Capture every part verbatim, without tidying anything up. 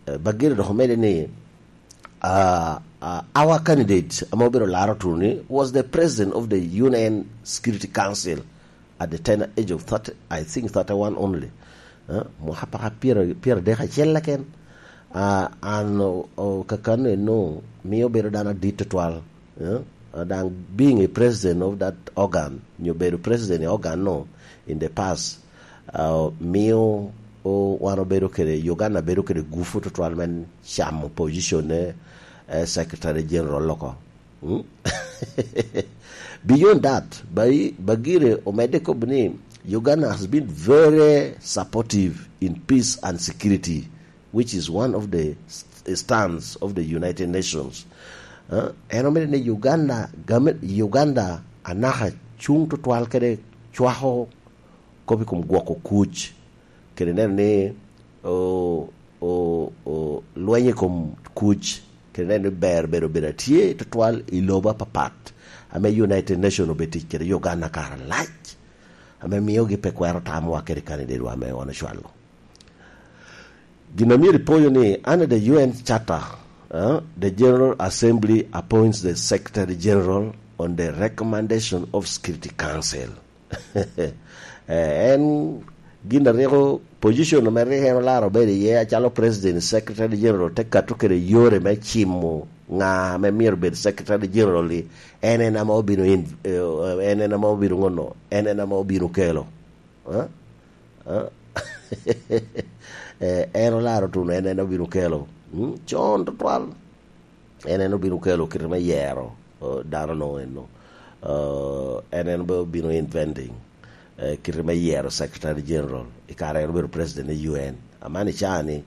Eh, Bagere dok omede ni, uh, uh, our candidate, ame obedo laro tuno ni, was the president of the U N Security Council at the tender age of thirty, I think thirty-one only. Eh, mwaka paka pyera, pyera dek acel keken. Ah, an o, o, kakano eno mio bedo dano adit tutwal. Eh, ah, daŋ being a president of that organ, nyo bedo president i organ no in the past, ah, mio o, wan obedo kede, Uganda bedo kede gufu tutwal me camo position ne, eh, Secretary General loko. Mm? Beyond that, Bai-, Bagire omedde kobo ni Uganda has been very supportive in peace and security, which is one of the st-, stands of the United Nations. Uh, en omedde ni Uganda, game, Uganda anaka cuŋ tutwal kede cwako kop i kom gwoko kuc, kede neno ni o, o, o, lweny i kom kuc, kede neno ni ber bedo bedo atye tutwal i lobo apapat, ame United Nation obedo tic kede Uganda kare alac, ame miogi pe kwero tamowa kede kanidetwa ame wan ocwalo. Gin a myero ipoyo ni, under the U N Charter, uh, the General Assembly appoints the Secretary General on the recommendation of Security Council. Eh, en gin a rik, position ame rik en olaro bedo iye acalo President, Secretary General te kato kede yore me cimo ŋa ame myero bed Secretary General-li, en en ame obino in-, eh, en en ame obino ŋono, en en ame obino kelo. Eh? Eh? Eh, en olaro tuno, en en obino kelo. Mm, con tutwal. En en obino kelo kite me yero, eh, dano no eno. Eh, en en be obino inventing, eh, kite me yero Secretary General i kare en obedo President i U N. Aman i caa ni,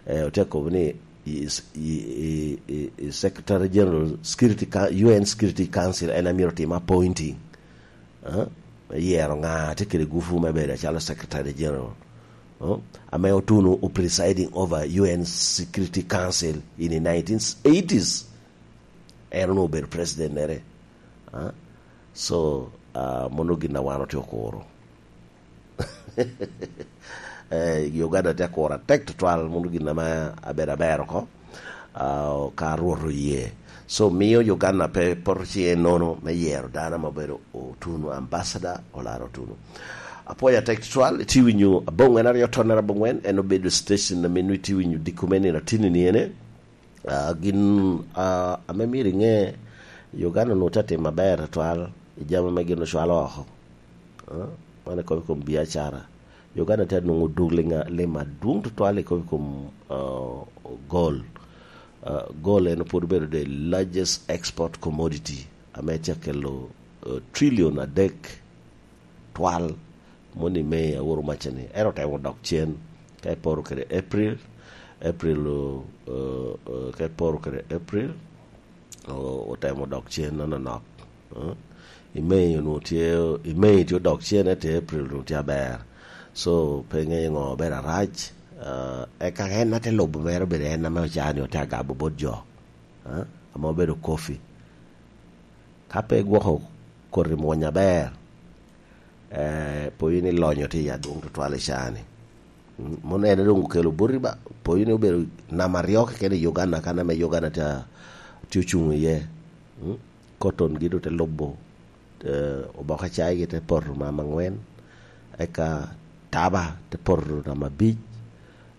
eh, otye kobo ni i, i, i, i, i Secretary General Security Coun-, U N Security Council en amyero tim appointing. Eh? Me yero ŋa tye kede gufu me bedo acalo Secretary General. Eh? Ame otuno o presiding over U N Security Council in the nineteen eighties. En onwoŋo obedo president-nere. Ah? So, ah, mono gin a wan otye okuro. Eh, Uganda tye akuro atek tutwal, mono gin ame abedo aber oko. Ah, ka Rwot oye. So, mio Uganda pe poto ciŋe nono me yero dano ame obedo otuno, ambassador, olaro otuno. Apwoyo atek tutwal, itye winyo aboŋwen aryo tonnere aboŋwen, en obedo station ame nwoŋo itye winyo diko me nino atinni ni ene. Ah, gin, ah, ame myero iŋe, Uganda onwoŋo tye atim aber tutwal i jami ame gin ocwalo oko. Ah, man ikobo i kom biacara. Uganda tye anwoŋo duk liŋ-, lim adwoŋ tutwal ikobo i kom, ah, gold. Ah, gold en pwod obedo the largest export commodity, ame tye akelo, ah, trillion adek twal, moni May a woro macca ni. Ento otemo dok cen, ka iporo kede April, April, o, o, o, ka iporo kede April, o, otemo dok cen nononok. Eh? I May onwoŋo tye, i May tye odok cen, ento i April onwoŋo tye aber. So, pe iŋeyo ŋo obedo arac. Eh, eka en ate lubo mere obedo en ame ocaa ni ote agabo bot jo. Eh? Ame obedo kofi. Ka pe igwoko koti mwony aber, eh, po in ilonyo tye i adwoŋ tutwal i caa ni. Mm, mono en doŋ okelo boti ba, po in obedo namba aryo keken i Uganda, kan ame Uganda tye a-, tye ocuŋ iye. Mm, cotton gi doŋ te lubo, eh, oboke cai gi te poto namba aŋwen, eka taba te poto namba abic,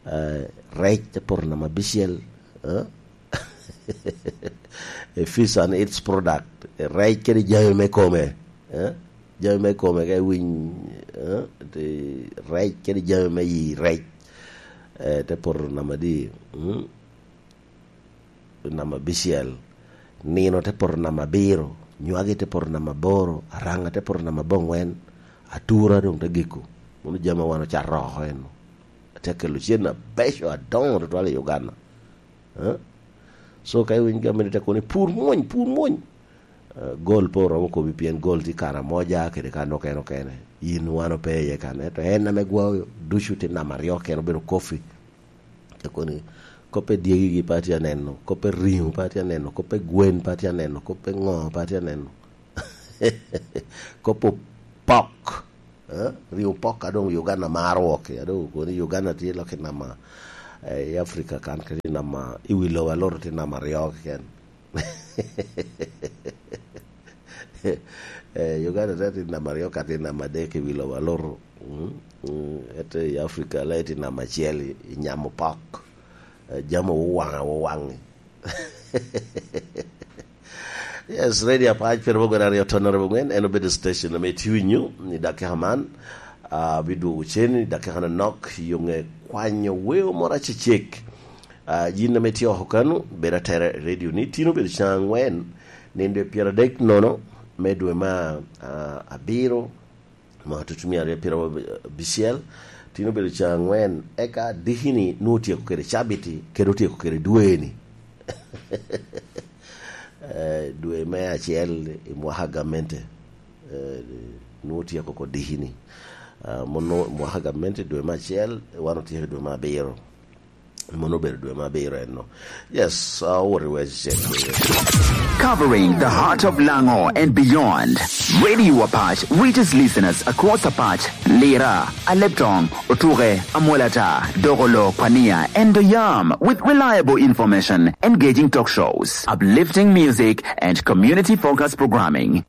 eh, rec te poto namba abicel, eh? A fish and its product, rec kede jami me kome, eh? Jami me kome ka iwiny, eh? Te-, rec kede jami me yi rec, eh, te poto namba adi? Mm? Namba abicel. Nino te poto namba abiro, nywagi te poto namba aboro, araŋa te poto namba aboŋwen, atura doŋ te giko. Mano jami a wan ocato oko eno. Atye akelo cen abeco adoŋo tutwal i Uganda. Eh? So, ka iwiny gamente te kono ni, "Pur mony, pur mony." Eh, gol pe oromo kobi, pien gol tye i Karamoja kede kan okene okene. In wan ope iye kan. Ento en ame gwayo ducu tye namba aryo keken, obedo kofi. Te kono ni, "Kop pe dyegi-gi pe atye aneno, kop pe ringo pe atye aneno, kop pe gwen pe atye aneno, kop pe ŋo pe atye aneno." Kop pe opok. Eh, ringo pok a doŋ Uganda maro wok, a doŋ okobo ni Uganda tye lok i namba, Eh, i Africa kan ka tye namba, i wi lobo aloro tye namba aryo keken. Eh, Uganda te tye namba aryo ka tye namba adek i wi lobo aloro. Mm, mm, ete i Africa la tye namba acel i, i nyamo pok. Eh, jami owaŋa, owaŋi. Yes, Radio Apac, pyeraboro aryo ton aryo angwen, en obedo station ame itye winyo i dakika man. Ah, bidwogo cen i dakika nonok, yo ŋe kwanyo weo moro acecek. Ah, yin ame itye oko kano, bed atera i radio ni, tin obedo caŋ angwen, nino dwe pyeradek nono me dwe me, ah, abiro, mwaka tutumia aryo pyerabicel, tin obedo caŋ angwen, eka diki-ni nwoŋo otyeko kede cabiti, kede otyeko kede dwe-ni. Eh, dwe me acel i mwaka gamente, eh, nwoŋo otyeko oko diki-ni. Ah, mono mwaka gamente dwe me acel, wan otyeko i dwe me abiro. Mono obedo dwe me abiro enno. Yes, ah, owot i wec acel. Covering the heart of Lango and beyond, Radio Apac reaches listeners across Apac, Lira, Aleptong, Otuke, Amolata, Dogolo, Kwania, and Doyam with reliable information, engaging talk shows, uplifting music, and community-focused programming.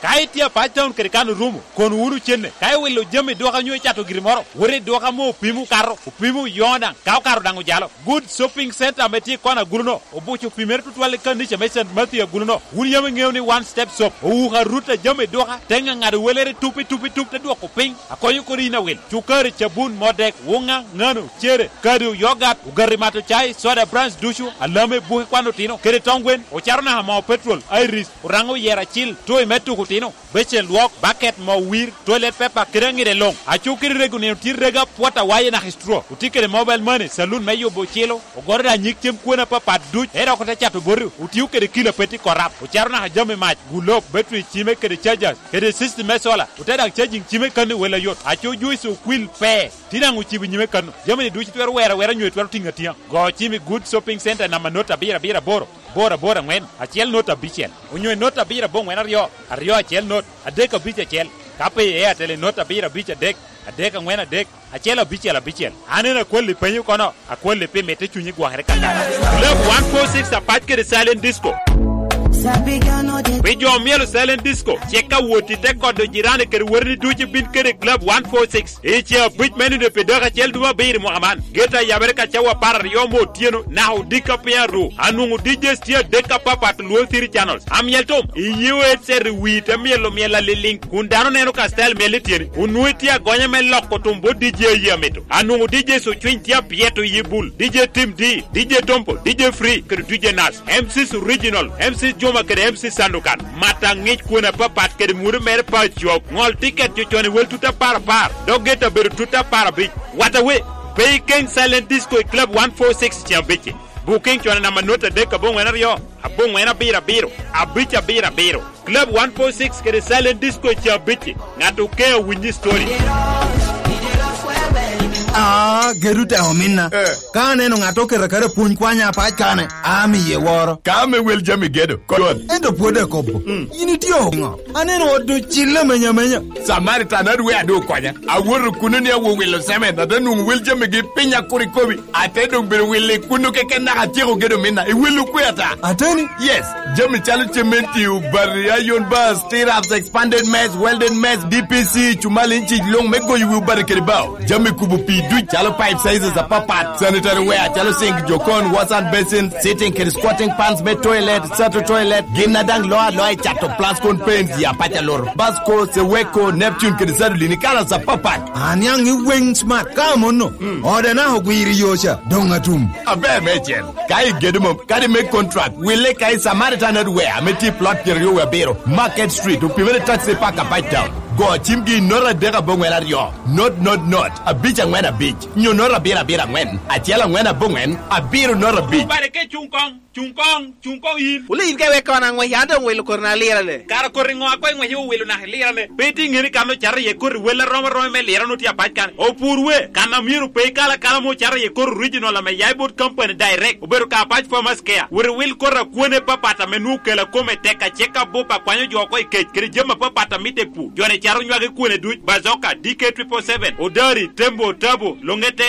Ka itye Apac Town kede kan orumo, kono wunu cenne. Ka iwilo jami dwoka onyo icato giri moro, wot i dwoka ame opimo okato, opimo oyoŋo daŋ, ka okato daŋ ojalo. Good Shopping Center ame tye i kona agulu-no, obuco opimere tutwal i kanica me Saint Matthew agulu-no. Wun yam iŋeo ni One Step Soap owuko arut a jami dwoka, te ŋaŋado welere tup i tup i tup, te dwoko piny, akonyo kodi yin awil. Cukari, cabun, modek, wuŋa, ŋano, cere, kado, yogat, ogati mato cai, soda brands ducu, alame, buki kwan otino, kede tong gwen, ocato naka moo petrol, iris, oraŋo oyero acil, toy me tuko otino, becen lwok, baket, moo wir, toilet paper, kede aŋide luŋ. Aco kede rego nino tye rego apwot awaye naka i straw. Otye kede mobile money, saloon me yubo ocilo, ogoro daŋ nyig cem kwena apapat duc, ento dok ote cato boti, otio kede kilo a pe tye korap, ocato naka jami mac, gulob, battery cime kede chargers, kede system me solar, ote daŋ charging cime kan i wel ayot. Aco juice okwil pe. Tye daŋ ocibo nyime kano. Jami-ni ducu itwero wero awera nyo itwero tiŋo atiŋa. Go cim i Good Shopping Center namba not abiro abiro aboro, aboro aboro aŋwen, acel not abicel, onyo i not abiro abongwen aryo, aryo acel not, adek abic acel. Ka pe i Airtel i not abiro abic adek, adek aŋwen adek, acel abicel abicel. An en akwalli penyo kono, akwalli pi mitte cunyi gwokere kakana. Club one four six Apac kede Silent Disco. Pi jo omyelo Silent Disco, cik awot i te kodo jirani kede woteni ducu ibin kede Club one four six. I ce abic me nino pi dako acel dwe abiro i mwaka man, geta yabere ka cawa apar aryo me otyeno naka odiko piny aru. Anwoŋo D Js tye adek apapat, Luo City Channels. Amiel tom, iye o headset i wi te myelo myel aliliŋ, kun dano neno ka style myel i tyeni. Onwoŋo itye agonya me loko tum bot D J aye amito. Anwoŋo D Js ocwiny tye apyeto iye bul, D J Tim D, D J Tompo, D J Free, kede D J Nas. M Cs Original, M Cs Juma kede M Cs Sandukan. Mata ŋic kwon apapat kede mwodo mere pa cok. Ŋol tiket jo con i wel tut apar apar, dok geta bedo tut apar abic. Wata we, pe ikeny Silent Disco i Club one four six ceŋ abicci. Booking con i namba not adek aboŋwen aryo, aboŋwen abiro abiro, abic abiro abiro. Club one four six kede Silent Disco ceŋ abicci. Ŋat okeŋ awinyi story. Ah, gedo te ominna. Eh. Ka aneno ŋat oketo aketa pwony kwanya apac kane, amiye woro. Ka ame wel jami gedo, kod. Ento pwod akobo. Mm. In itye oŋo? Aneno ot ocille menya menya. Samaritan adwe adu okonya. Awoto kuno ni awo wilo semen, ate nwoŋo wel jamigi piny akur ikobi. Ate doŋ bedo wilo i kuno keken naka atyeko gedo minna. Iwelo kwe ata? Ateni? Yes. Jami calo cementi, obati, iron bars, stirrups, expanded mess, welded mess, D P C, cumal inci luŋ me goyo wi obati kede bao. Jami kubo pii duc calo pipe sizes apapat, sanitary ware calo sink, jokon, wash and basin, sitting kede squatting pans me toilet, sato toilet, gin a daŋ loo aloa i cato Plascon Paints i Apac Alur, Basco, Seweko, Neptune kede Sadolin i kalas apapat. Aniaŋ i weng smart ka amono. Mm. Ode naka ogwiro i yo ca, doŋ atum. Aber meicel. Ka igedo mom, kadi me contract, wille ka i Samaritan Hardware ame tye i plot pyeraryo wie abiro, Market Street, opimere taxi park Apac Town. Go cimgi i not adek aboŋwen aryo. Not, not, not, abic aŋwen abic, nyo not abiro abiro aŋwen, acel aŋwen aboŋwen, abiro not abic. Obare ka icuŋ koŋ. Cuŋ koŋ, cuŋ koŋ yin. Wule yin ka iwek kono aŋwec, an doŋ wilo koti na lirane. Kara koti ŋo a koŋ iŋwece owilo naka ilirane? Pe itye ŋeni kan ocato iye koti wel arom aroma me lirane otye apac kan. Opur we, kan a myero pe ikal akala ma ocato iye koti original ame ya i bot company direct. Obedo ka apac Farmers Care. Wot iwil koti a kwone papat ame nwoŋo kela kome tek, acek abup akwanyo jo oko i kec, kede jami apapat a mitte i pur. Joni cato nywagi kwone duc, bazoka, D K triple seven, odari, tembo, tabo, loŋete,